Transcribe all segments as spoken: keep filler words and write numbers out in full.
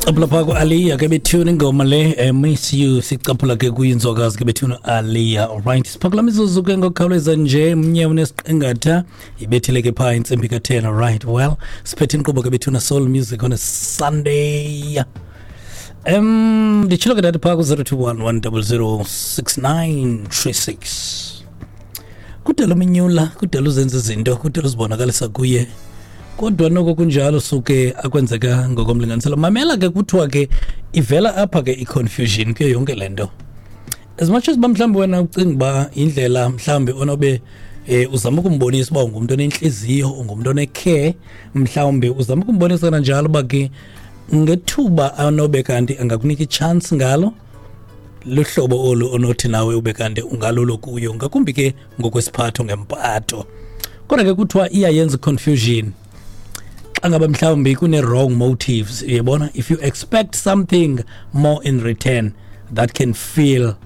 Sicaphula phaa ku-Aaliyah ke bethuna, ingoma le eh, "Miss You". Sicaphula ke kuyinzwakazi ke bethuna, Aaliyah. Alright, siphakula mizuzu ke ngokukhawuleza nje mnye unesiqingatha ibethile ke phaa intsimbi ka-ten. Alright, well, siphethe inkqubo ke bethuna, Soul Music on a Sunday. um nditshilo ke ndathi phaa ku-zero two one one zero zero six nine three six. Kudala uminyula, kudala uzenza izinto, kudala uzibonakalisa kuye, kodwa noko kunjalo suke akwenzeka ngokomlinganiselo. Mamela ke, kuthiwa ke ivela apha ke i-confusion kuyo yonke le nto. As much as uba mhlawumbi wena ucinga uba indlela mhlawumbi onobe eh uzama ukumbonisa uba ungumntu onentliziyo, ungumntu one-care, mhlawumbi uzama ukumbonisa kananjalo uba ke ngethuba anobe kanti angakunika i-chance ngalo luhlobo olu onothi nawe ube kanti ungalulo kuyo, ngakumbi ke ngokwesiphatho, ngempatho. Kodwa ke kuthiwa iyayenza i-confusion xa ngaba mhlawumbi kune-wrong motives, uyabona. If you expect something more in return, that can feel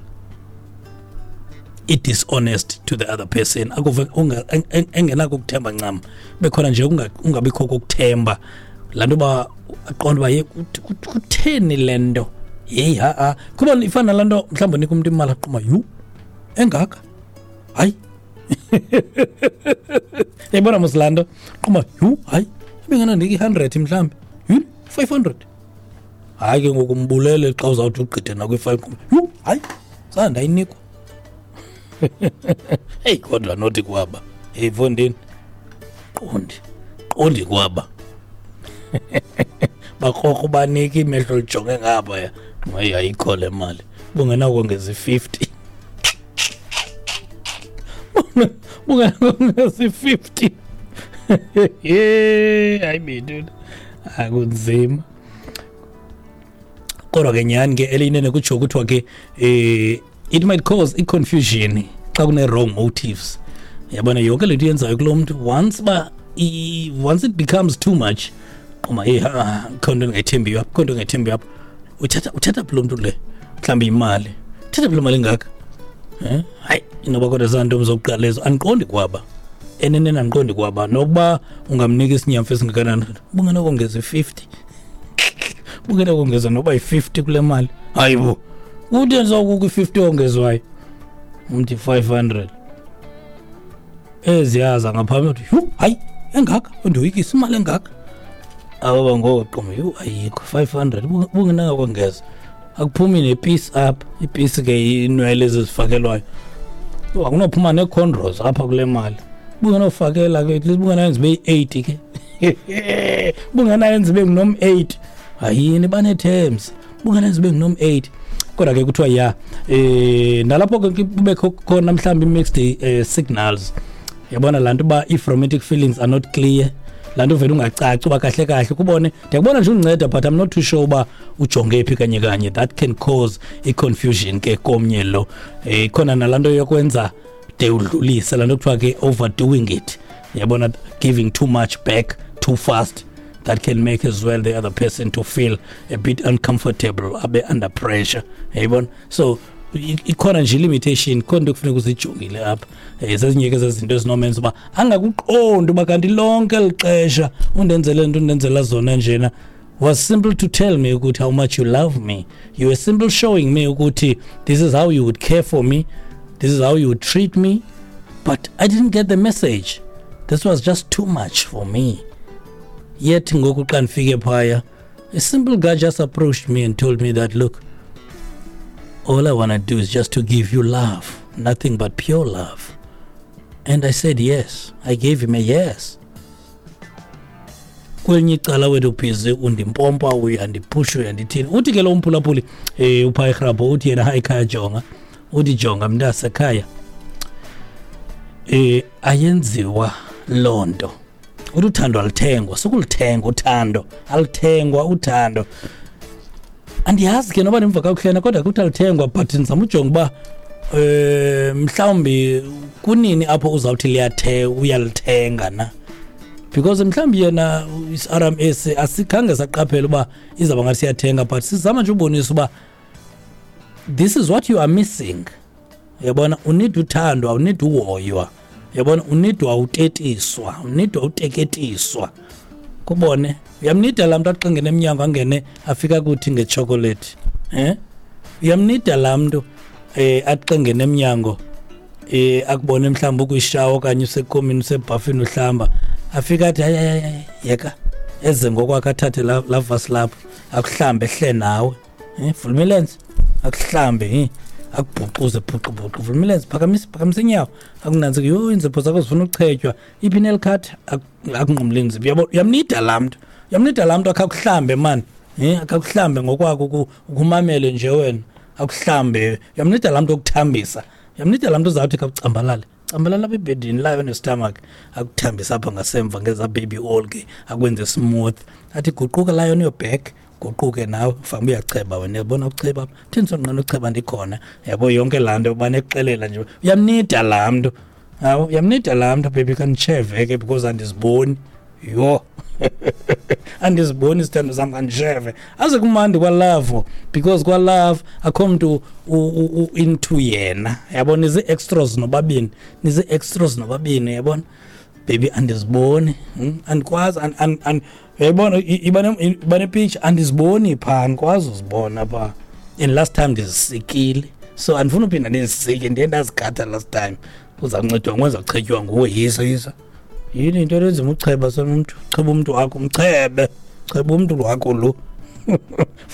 i-dishonest to the other person. Akuve unga- en- en- engenako ukuthemba ncam, bekhona nje unga- ungabikho kokuthemba laa nto uba aqonde uba ye kut- kut- kutheni le nto. Yeyi, ha-a, kuba ifana nalaa nto mhlawumbi unika umntu imali, aquma, "Yhu, engaka, hayi." Yayibona mos laa nto, quma, "Yhu, hayi, ibingenandika i-hundred mhlawumbi, yhu, five hundred." Hayi ke ngoku mbulele xa uzawuthi ugqithe nakwi-five, quma, "Yhu, hayi, zange ndayinikwa." Heyi, kodwa nothi kwaba, heyi mfondini, qondi qondi kwaba bakrokro banika imehlo lijonge ngaphaya. Hayi, ayikho le mali, bungenakongeza i-fifty, bungenakongeza i-fifty. Hayi bethu, akunzima. Kodwa ke nyhani ke eliyinene kutsho kuthiwa ke eh it might cause i-confusion xa kune-wrong motives. Yabona yonke le nto yenzayo kulo mntu, once ba i- once it becomes too much, qoma, "Hey, ha, kho nto ndingayithembiyo apha, kho nto ndingayithembiyo apha. Uthatha uthatha phi lo mntu le mhlawumbi imali? Uthatha phi le mali ingaka?" Eh hayi, inoba kodwa zanto zokuqala ezo. Andiqondi kwaba eneneni, andiqondi kwaba nokuba ungamnika isinyamfu esingakanani, bungenokongeza i-fifty, bungenokongeza noba yi-fifty kule mali. Hayi bo, kutheni sawukukho i-fifty ongezwayo umthi five hundred eziyaza ngaphambi uthi, "Yhu, hayi, engaka, undoyikisa imali engaka." Aba ngoko qoma, "Yhu, ayikho five hundred, bungenakongeza, akuphumi nepisi apha." Ipisi ke inwele ezizifakelwayo. Yho, akunophuma nee-cornrows apha kule mali. Bungenofakela ke, at least bungenayenza ibe yi-eight ke, bungenayenza ibe ngunom eight. Hayini, banee-terms, bungenayenza ibe ngunom eight. Kodwa ke kuthiwa ya eh nalapho ke kubekho khona mhlawumbi i-mixed eh, signals. Yabona laa nto uba if romantic feelings are not clear, laa nto uvele ungacaci uba kahle kahle kubone, ndiyakubona nje undinceda, but I'm not too sure uba ujonge phi kanye kanye. That can cause i-confusion ke komnye lo. um khona nalaa nto yokwenza de udlulise, laa nto kuthiwa ke overdoing it, yabona, giving too much back too fast, that can make as well the other person to feel a bit uncomfortable, abe under pressure, yayibona. So i- ikhona nje i-limitation, khona into ekufuneka uzijongile apha. um zezinye ke zezinto ezinomenza uba angakuqondi uba kanti lonke eli xesha undenzele nto undenzela zona njena was simple to tell me ukuthi how much you love me. You were simple showing me ukuthi this is how you would care for me, this is how you would treat me, but I didn't get the message. This was just too much for me. Yet ngoku xa ndifike phaya, a simple guy just approached me and told me that, "Look, all I want to do is just to give you love, nothing but pure love." And I said yes. I gave him a yes. Kwelinye icala wethu ubhizi undimpompa, uyandiphusha, uyandithini. Uthi ke lo umphulaphuli um uphaa erhabho, uthi yena, "Hayi khaya, jonga." Uthi, "Jonga mntasekhaya, eh ayenziwa loo nto." Uthi uthando aluthengwa, sukuluthenga uthando, aluthengwa uthando. Andiyazi ke noba ndimva kakuhle, kodwa kuthi aluthengwa, but ndizama ujonga uba eh mhlawumbi kunini apho uzawuthi liyathe uyalithenga na, because mhlawumbi yena i-R M S asikhange saqaphela uba izawuba ngathi siyathenga, but sizama nje ubonisa uba this is what you are missing. Uyabona, u-need uthando, awu-need uhoywa, uyabona, u-need awutetiswa, u-need awuteketiswa. Kubone uyamnida laa mntu axingene emnyango angene afika kuthi ngechocolate. Eh? Uyamnida laa mntu eh axingene emnyango eh akubone mhlawumbi ukwishawa okanye usekomini usebhafini uhlamba afika athi hayi hayi yeka eze ngokwakhe athathe la, la vasi lapho akuhlambe ehle nawe. Eh vula imilenze akuhlambe eh akubhuquze bhuqu bhuqu vula imilenze phakamisa phakamisa inyawo akunanzi yho inzipho zakho zifuna uchetywa iphi nail cut akunqumle inzipho. Uyabo uyamnida laa mntu uyamnida laa mntu akakuhlambe man eh akakuhlambe ngokwakho ukumamele nje wena akuhlambe. Uyamnida laa mntu okuthambisa uyamnida laa mntu uzawuthi kakucambalale cambalala apha ebhedini layo nestomach akuthambisa apha ngasemva ngeza baby oil ke akwenze smooth athi guquka layo on your back guquke nawe mfana uyacheba wena yabona ucheba apha thini sonqena ucheba ndikhona yabo yonke laa nto banexelela nje. Uyamnida laa mntu hawu uyamnida laa mntu baby kanditsheve ke because andiziboni yho andiziboni isithando sam kanditsheve aze kumandi kwalove because kwalove akho mntu into yena yabo nizi-extras nobabini nizi-extras nobabini yabona baby andiziboni andikwazi uyayibona iba nepicture andiziboni phaa andikwazi uzibona phaa and last time ndizisikile so andifuna uphinda ndizisike ndiye ndazigada last time uzawuncedwa nguwe uzawuchetywa nguwe yisa yisa yini into lenzima ucheba sonomntu cheba umntu wakho umchebe cheba umntu wakho lo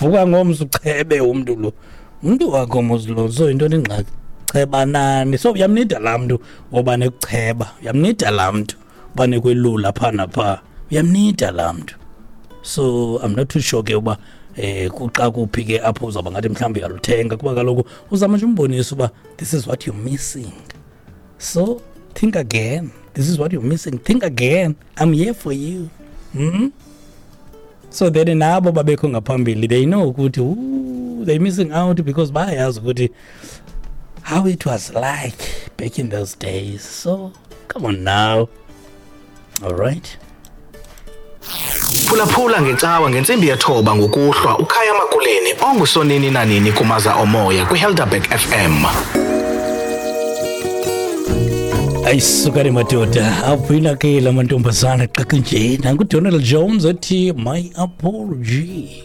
vuka ngomso uchebe umntu lo umntu wakho mos lo so into ingxaki chebanani. So uyamnida laa mntu woba nekucheba uyamnida laa mntu uba nekwelula phaa naphaa uyamnida laa mntu. So I'm not too sure ke uba eh kuxa kuphi ke apho uzawuba ngathi mhlawumbi uyaluthenga kuba kaloku uzama nje umbonisa uba this is what you're missing so think again. This is what you're missing. Think again. I'm here for you. Mm-hmm. So then nabo babekho ngaphambili they know ukuthi ooh they're missing out because bayazi ukuthi how it was like back in those days. So come on now. All right. Phulaphula ngecawa ngentsimbi yethoba ngokuhlwa uKhaya Makuleni ongusonini nanini kumaza omoya kwiHelderberg F M. Ayisukani madoda aphina ke la mantombazana xaxa nje nangu Donald Jones ethi my apology.